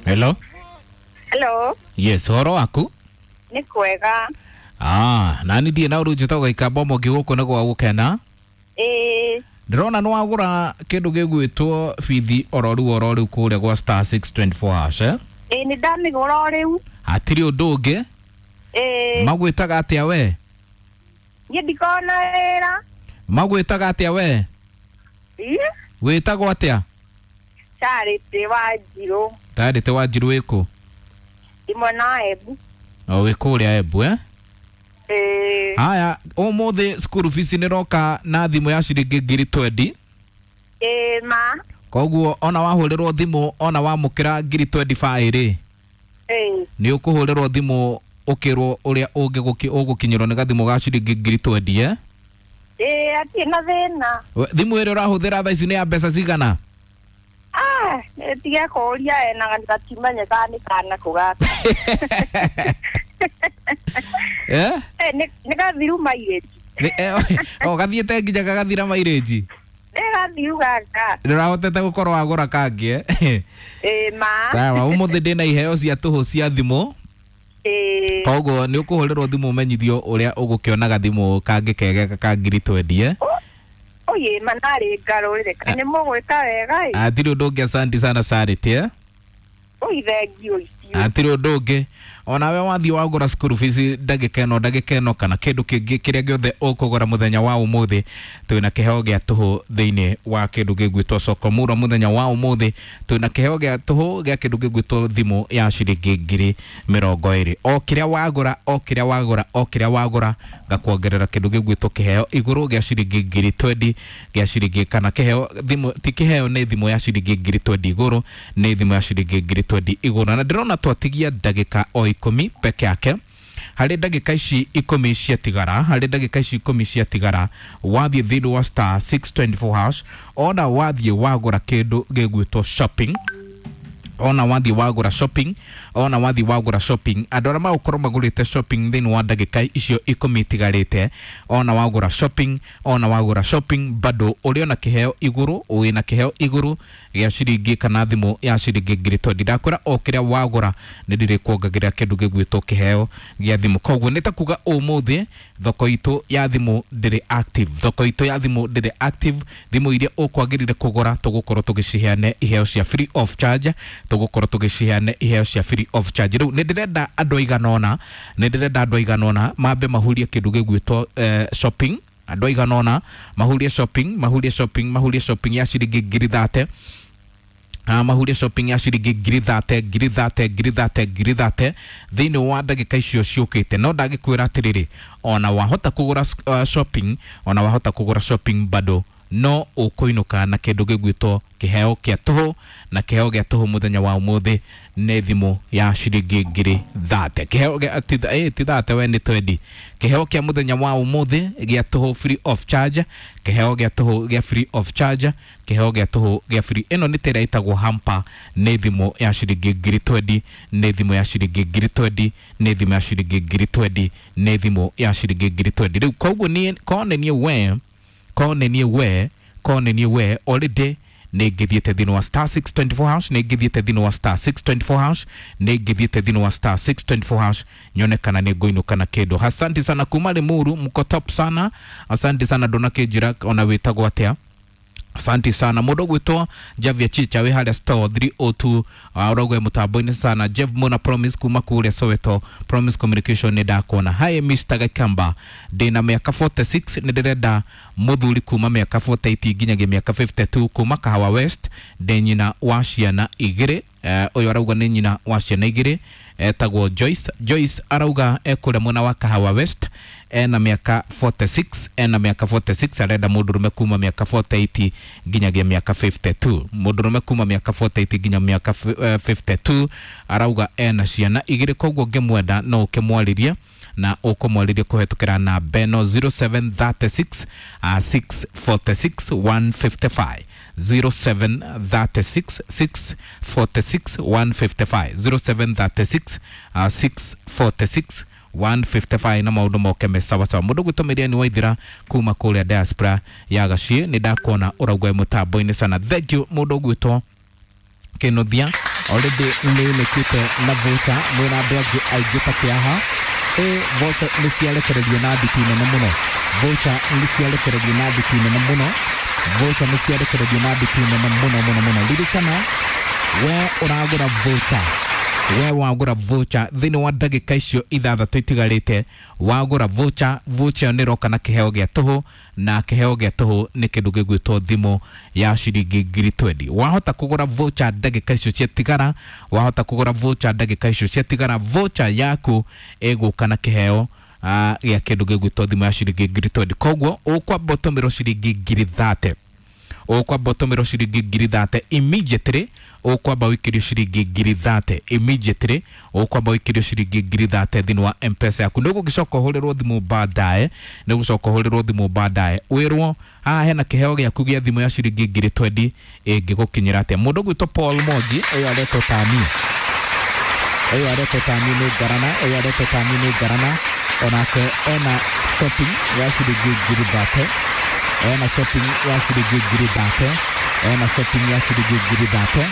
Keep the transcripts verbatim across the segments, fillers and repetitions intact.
Hello. Hello. Yes, horo waku? Nĩ kwega. Ah, nani ndiĩ na ũru njĩtagwo Gĩkamba Mũngĩ gũkũ nĩ gwa gũkena. Ĩĩ. Ndĩrona nĩ wagũra kĩndũ gĩgwĩtwo bithi oro rĩu oro rĩu kũrĩa gwa star six twenty four hash eh? Ĩĩ nĩ ndamĩgũra o rĩu. Hatirĩ ũndũ ũngĩ. Ĩĩ. Magwĩtaga atĩa we? Niĩ ndikoragwo na wĩra. Magwĩtaga atĩa we? Ĩĩ. Wĩtagwo atĩa? Charity Wanjirũ. Charity Wanjirũ wĩkũ? Ndĩ mwena wa Embu. O wĩ kũrĩa Embu eh? Ĩĩ. Haya, ũmũthĩ school fees nĩ roka na thimũ ya ciringi ngiri twendi. Ĩĩ ma. Koguo ona wahũrĩrwo thimũ ona wamũkĩra ngiri twenty five rĩ. Ĩĩ. Nĩ ũkũhũrĩrwo thimũ ũkĩrwo ũrĩa ũgũkinyĩrwo nĩ gathimũ ga ciringi ngiri twendi eh? Ĩĩ hatirĩ na thĩna. Thimũ ĩrĩa ũrahũthĩra thaa ici nĩ ya mbeca cigana? Ah, tiga kũũria ena gatimenye kana nĩ kana kũ gaka. Eh? Eh, nĩ gathiru mairĩji. O gathiĩte nginya gagathira mairĩji. Nĩ gathiru gaka. Ndũrahotete gũkorwo wagũra kangĩ eh? Ĩĩ ma. Sawa, ũmũthĩ ndĩna iheo cia tũhũ cia thimũ. Ĩĩ. Koguo nĩ ũkũhũrĩrwo thimũ ũmenyithio ũrĩa ũgũkĩona gathimũ kangĩ kega ka ngiri twendi eh? Oye, manarĩ ngarũrĩre nĩ mũgwĩka wega ĩ. Hatirĩ ũndũ ũngĩ, asante sana Charity eh? Oi thengiũ icio. Hatirĩ ũndũ ũngĩ. Onawe wathiĩ wagũra school fees ndagĩka ĩno ndagĩka ĩno kana kĩndũ kĩngĩ kĩrĩa gĩothe ũkũgũra mũthenya wa ũmũthĩ, twĩna kĩheo gĩa tũhũ thĩinĩ wa kĩndũ gĩgwĩtwo soko mura. Mũthenya wa ũmũthĩ twĩna kĩheo gĩa tũhũ gĩa kĩndũ gĩgwĩtwo thimũ ya ciringi ngiri mĩrongo ĩrĩ. O kĩrĩa wagũra, o kĩrĩa wagũra, o kĩrĩa wagũra ngakuongerera kĩndũ gĩgwĩtwo kĩheo igũrũ gĩa ciringi ngiri twendi gĩa ciringi kana kĩheo thimũ ti kĩheo nĩ thimũ ya ciringi ngiri twendi igũrũ, nĩ thimũ ya ciringi ngiri twendi igũrũ. Na ndĩrona twatigia ndagĩka o ikũmi peke yake. Harĩ ndagĩka ici ikũmi ciatigara, harĩ ndagĩka ici ikũmi ciatigara, wathiĩ thĩinĩ wa star six twenty four hash, ona wathiĩ wagũra kĩndũ gĩgwĩtwo shopping, ona wathiĩ wagũra shopping, ona wathiĩ wagũra shopping, andũ arĩa magũkorwo magũrĩte shopping thĩinĩ wa ndagĩka icio ikũmi itigarĩte, ona wagũra shopping, ona wagũra shopping bado ũrĩ ona kĩheo igũrũ, wĩna kĩheo igũrũ gĩa ciringi kana thimũ ya ciringi ngiri twendi. Ndakwĩra o kĩrĩa wagũra nĩ ndĩrĩkuongagĩrĩra kĩndũ gĩgwĩtwo kĩheo gĩa thimũ. Koguo nĩ ta kuga ũmũthĩ thoko itũ ya thimũ ndĩrĩ active, thoko itũ ya thimũ ndĩrĩ active. Thimũ iria ũkwagĩrĩire kũgũra tũgũkorwo tũgĩciheane iheo cia free of charge, tũgũkorwo tũgĩciheane iheo cia free of charge. Rĩu nĩ ndĩrenda andũ aigana ũna, nĩ ndĩrenda andũ aigana ũna mambe mahurie kĩndũ gĩgwĩtwo eh, shopping. Andũ aigana ũna mahurie shopping, mahurie shopping, mahurie shopping ya ciringi ngiri thate. Ah, mahurie shopping ya ciringi ngiri thate, ngiri thate, ngiri thate, ngiri thate thĩinĩ wa ndagĩka icio ciũkĩte. No ndagĩkwĩra atĩrĩrĩ, ona wahota kũgũra uh, shopping, ona wahota kũgũra shopping bado no ũkũinũka na kĩndũ gĩgwĩtwo kĩheo kĩa tũhũ, na kĩheo gĩa tũhũ mũthenya wa ũmũthĩ nĩ thimũ ya ciringi ngiri thate. Kĩheo gĩa ti eh, ti thate we nĩ twendi. Kĩheo kĩa mũthenya wa ũmũthĩ gĩa tũhũ free of charge, kĩheo gĩa tũhũ gĩa free of charge, kĩheo gĩa tũhũ gĩa free. Ĩno nĩ tĩrĩa ĩtagwo hamper, nĩ thimũ ya ciringi ngiri twendi, nĩ thimũ ya ciringi ngiri twendi, nĩ thimũ ya ciringi ngiri twendi, nĩ thimũ ya ciringi ngiri twendi. Rĩu koguo niĩ kone niĩ we kone niĩ we kone niĩ we already nĩ ngĩthiĩte thĩinĩ wa star six twenty four hash, nĩ ngĩthiĩte thĩinĩ wa star six twenty four hash, nĩ ngĩthiĩte thĩinĩ wa star six twenty four hash nyone kana nĩ ngũinũka na kĩndũ. Asante sana kuma Limuru, mko top sana. Asante sana ndũnakĩnjĩra ona wĩtagwo atĩa. Asante sana mũndũ ũgwĩtwo Javier Chicha wĩ harĩa store three oh two, ũrauga mũtambo-inĩ sana. Jeff Mona Promise kuma kũrĩa Soweto, Promise Communication nĩ ndakuona. Hi Mister Gakamba, ndĩna mĩaka forty six, nĩ ndĩrenda mũthuri kuma mĩaka forty eight nginyagia mĩaka fifty two kuma Kahawa West, ndĩ nyina wa ciana igĩrĩ. Ũyũ arauga nĩ nyina wa ciana igĩrĩ, etagwo Joyce. Joyce arauga ekũrĩa mwena wa Kahawa West, ena mĩaka forty six, ena mĩaka forty six, arenda mũndũrũme kuma mĩaka forty eight nginyagia mĩaka fifty two. Mũndũrũme kuma mĩaka forty eight nginya mĩaka fifty two, arauga ena ciana igĩrĩ, koguo ngĩmwenda no ũkĩmwarĩrie na ũkũmwarĩrie kũhetũkĩra namba ĩno zero seven thirty six, six forty six, one fifty five, zero seven thirty six, six forty six, one fifty five, zero seven thirty six, six forty six, one fifty five na maundu moke me sawa sawa. Mundu gwitå ni waithira kuma kuria diaspora ya Gaciĩ, nĩ ndakuona ũraugua mũtambo-inĩ sana. Thank you mundu gwitwo Kinuthia already nĩ ũnĩkĩte na voucher mwĩna andũ angĩ aingĩ ta kĩaha. Ĩ voucher nĩ ciarekererio na nditi nene mũno, voucher nĩ ciarekererio na nditi nene mũno, voucher nĩ ciarekererio na nditi nene mũno mũno mũno. Ririkana we ũragũra voucher, we wagũra voucher thĩinĩ wa ndagĩka icio ithathatũ itigarĩte, wagũra voucher, voucher ĩyo nĩ ĩroka na kĩheo gĩa tũhũ, na kĩheo gĩa tũhũ nĩ kĩndũ gĩgwĩtwo thimũ ya ciringi ngiri twendi. Wahota kũgũra voucher ndagĩka icio ciatigara, wahota kũgũra voucher ndagĩka icio ciatigara, voucher yaku ĩgũka na kĩheo ah, gĩa kĩndũ gĩgwĩtwo thimũ ya ciringi ngiri twendi. Koguo ũkwamba ũtũmĩrwo ciringi ngiri thate, ũkwamba ũtũmĩrwo ciringi ngiri thate immediately, ũkwamba ũikĩrio ciringi ngiri thate immediately, ũkwamba ũikĩrio ciringi ngiri thate thĩinĩ wa M-Pesa yaku. Nĩ ũgũgĩcoka ũhũrĩrwo thimũ baadaye, nĩ ũgũcoka ũhũrĩrwo thimũ baadaye wĩrwo haha hena kĩheo gĩaku gĩa thimũ ya ciringi ngiri twendi ĩngĩgũkinyĩra atĩa. Mũndũ ũgwĩtwo Paul Mwangi ũyũ aretwo tani, ũyũ aretwo tani nĩ ngarana, ũyũ aretwo tani nĩ ngarana, onake ena shopping ya ciringi ngiri thate, ena shopping ya ciringi ngiri thate, ena shopping ya ciringi ngiri thate.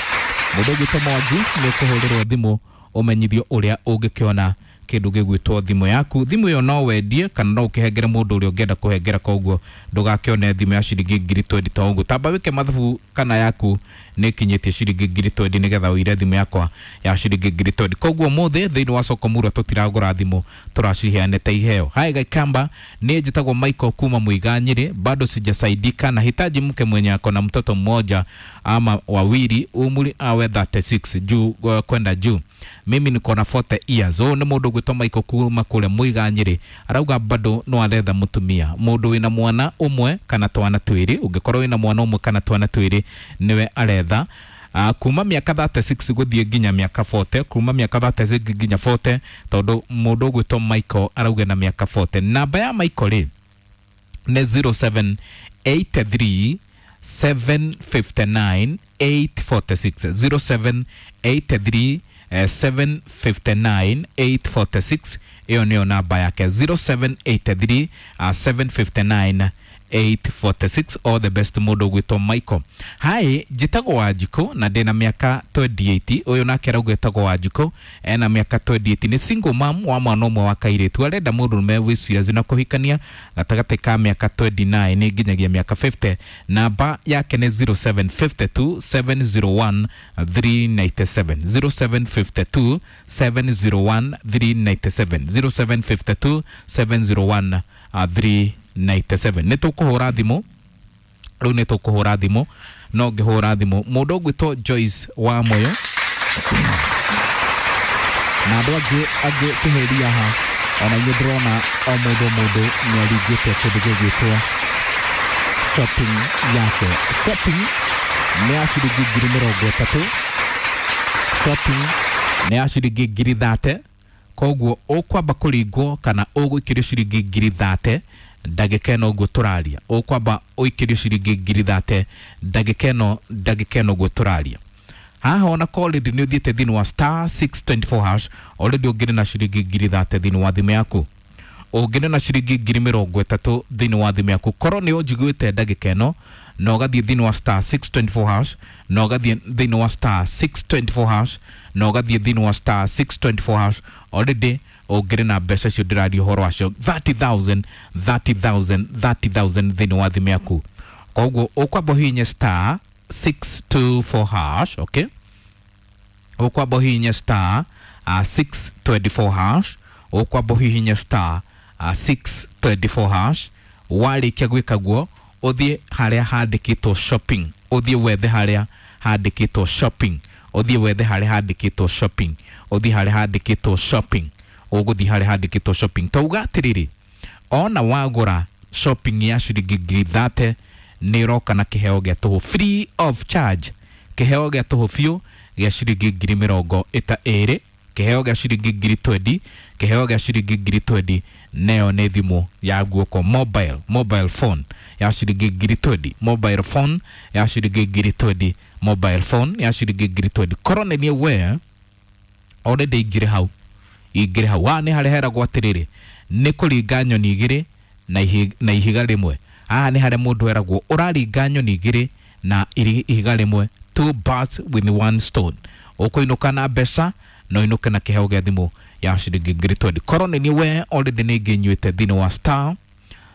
Mũndũ ũgwĩtwo Mwangi nĩ ũkũhũrĩrwo thimũ ũmenyithio ũrĩa ũngĩkĩona kĩndũ gĩgwĩtwo thimũ yaku. Thimũ ĩyo no wendie kana no ũkĩhengere mũndũ ũrĩa ũngĩenda kũhengera, koguo ndũgakĩone thimũ ya ciringi ngiri twendi to ũguo. Tamba wĩke mathabu kana yaku nĩ ĩkinyĩtie ciringi ngiri twendi nĩgetha ũire thimũ yakwa ya ciringi ngiri twendi. Koguo ũmũthĩ thĩinĩ wa soko murwa tũtiragũra thimũ, tũraciheanĩte iheo. Hai Gaikamba, niĩ njĩtagwo Michael kuma Muiga Nyĩrĩ, bado sijasaidika, nahitaji mke mwenye ako na mtoto mmoja ama wawili, umri awe thirty-six juu uh, kwenda juu. Mimi niko na forty years. Ũyũ nĩ mũndũ ũgwĩtwo Michael kuma kũrĩa Muiga Nyĩrĩ, arauga bado no aretha mũtumia, mũndũ wĩna mwana ũmwe kana twana twĩrĩ. Ũngĩkorwo wĩna mwana ũmwe kana twana twĩrĩ nĩwe aretha. Uh, kuma mĩaka thirty-six gũthiĩ nginya mĩaka forty, kuma mĩaka thirty-six nginya forty, tondũ mũndũ ũgwĩtwo Michael arauga na mĩaka forty. Namba ya Michael rĩ nĩ zero seven eight three seven five nine eight four six, zero seven eight three seven five nine eight four six. Ĩyo nĩyo namba yake, zero seven eight three seven five nine eight four six. All the best mũndũ ũgwĩtwo Michael. Hi, njĩtagwo Wanjikũ na ndĩna mĩaka twenty-eight. Ũyũ nake arauga etagwo Wanjikũ, ena mĩaka twenty-eight, nĩ single mom wa mwana ũmwe wa kairĩtu, arenda mũndũrũme wĩ serious na kũhikania gatagatĩ ka mĩaka twenty-nine nginyagia mĩaka fifty. Namba yake nĩ zero seven five two seven zero one three nine seven, zero seven five two seven zero one three nine seven, zero seven five two seven zero one three nine seven. Nĩ tũkũhũra thimũ rĩu, nĩ tũkũhũra thimũ, no ngĩhũra thimũ mũndũ ũgwĩtwo Joyce wa Moyo na andũ angĩ angĩ kĩhĩria haha, ona inyuĩ ndĩrona o mũndũ o mũndũ nĩ aringĩte kĩndũ gĩgwĩtwo shopping yake. Shopping nĩ ya ciringi ngiri mĩrongo ĩtatũ, shopping nĩ ya ciringi ngiri thate. Koguo ũkwamba kũringwo kana ũgũikĩrio ciringi ngiri thate ndagĩka ĩno ũguo tũraria, ũkwamba ũikĩrio ciringi ngiri thate ndagĩka ĩno, ndagĩka ĩno ũguo tũraria. Haha ona ko already nĩ ũthiĩte thĩinĩ wa star six twenty four hash, already ũngĩrĩ na ciringi ngiri thate thĩinĩ wa thimũ yaku, ũngĩrĩ na ciringi ngiri mĩrongo ĩtatũ thĩinĩ wa thimũ yaku. Korwo nĩ ũnjiguĩte ndagĩka ĩno na ũgathiĩ thĩinĩ wa star six twenty four hash, na ũgathiĩ thĩinĩ wa star six twenty four hash, na ũgathiĩ thĩinĩ wa star six twenty four hash, already ũngĩrĩ na mbeca icio ndĩraria ũhoro wacio thirty thousand, thirty thousand, thirty thousand thĩinĩ wa thimũ yaku. Koguo ũkwamba ũhihinye star six two four hash, okay? Ũkwamba ũhihinye star, uh, six twenty four hash, ũkwamba ũhihinye star, uh, six twenty four hash. Warĩkia gwĩka guo ũthiĩ harĩa handĩkĩtwo shopping, ũthiĩ wethe harĩa handĩkĩtwo shopping, ũthiĩ wethe harĩa handĩkĩtwo shopping, ũthiĩ harĩa handĩkĩtwo shopping, ũgũthiĩ harĩa handĩkĩtwo shopping. Tauga atĩrĩrĩ, ona wagũra shopping ya ciringi ngiri thate nĩ ĩroka na kĩheo gĩa tũhũ free of charge, kĩheo gĩa tũhũ biũ gĩa ciringi ngiri mĩrongo ĩta ĩrĩ, kĩheo gĩa ciringi ngiri twendi, kĩheo gĩa ciringi ngiri twendi, neyo nĩ thimũ ya guoko, mobile, mobile phone ya ciringi ngiri twendi, mobile phone ya ciringi ngiri twendi, mobile phone ya ciringi ngiri twendi. Korwo nĩ niĩ we already ingĩrĩ hau, ingĩrĩ hau. Haha nĩ harĩa heragwo atĩrĩrĩ, nĩ kũringa nyoni igĩrĩ na ihi-, na ihiga rĩmwe. Haha nĩ harĩa mũndũ eragwo ũraringa nyoni igĩrĩ na iri-, ihiga rĩmwe. Two birds with one stone. Ũkũinũka na mbeca na ũinũke na kĩheo gĩa thimũ ya ciringi ngiri twenty. Korwo nĩ niĩ we already nĩ ngĩnyuĩte thĩinĩ wa star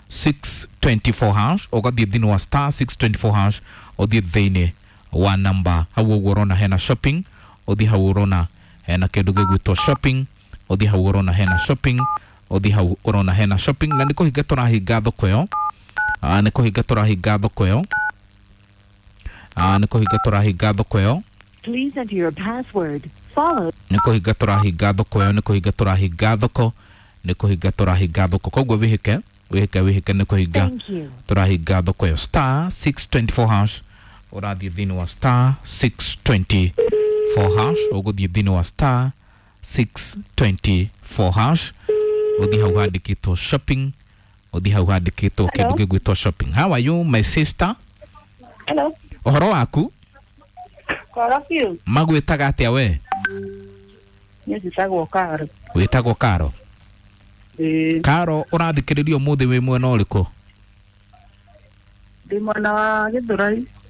six twenty four hash, ũgathiĩ thĩinĩ wa star six twenty four hash, ũthiĩ thĩinĩ wa namba hau ũguo ũrona hena shopping, ũthiĩ hau ũrona hena kĩndũ gĩgwĩtwo shopping, ũthiĩ hau ũrona hena shopping, ũthiĩ hau ũrona hena shopping. Na nĩ kũhinga tũrahinga thoko ĩyo. Ah, nĩ kũhinga tũrahinga thoko ĩyo. Ah, nĩ kũhinga tũrahinga thoko ĩyo. Please enter your password, followed Nĩ kũhinga tũrahinga thoko ĩyo, nĩ kũhinga tũrahinga thoko, nĩ kũhinga tũrahinga thoko. Koguo wĩhĩke, wĩhĩke, wĩhĩke, nĩ kũhinga Thank you. tũrahinga thoko ĩyo. Star six twenty four hash, ũrathiĩ thĩinĩ wa star six twenty four hash, ũgũthiĩ thĩinĩ wa star six twenty four hash, ũthiĩ hau handĩkĩtwo shopping, ũthiĩ hau handĩkĩtwo kĩndũ Hello. gĩgwĩtwo shopping. How are you, my sister? Hello. Ũhoro waku? Kwara biũ. Magwĩtaga atĩa we? Niĩ njĩtagwo Karo. Wĩtagwo Karo? Ĩĩ. Karo, ũrathikĩrĩria ũmũthĩ wĩ mwena ũrĩkũ? Ndĩ mwena wa Gĩthũrai.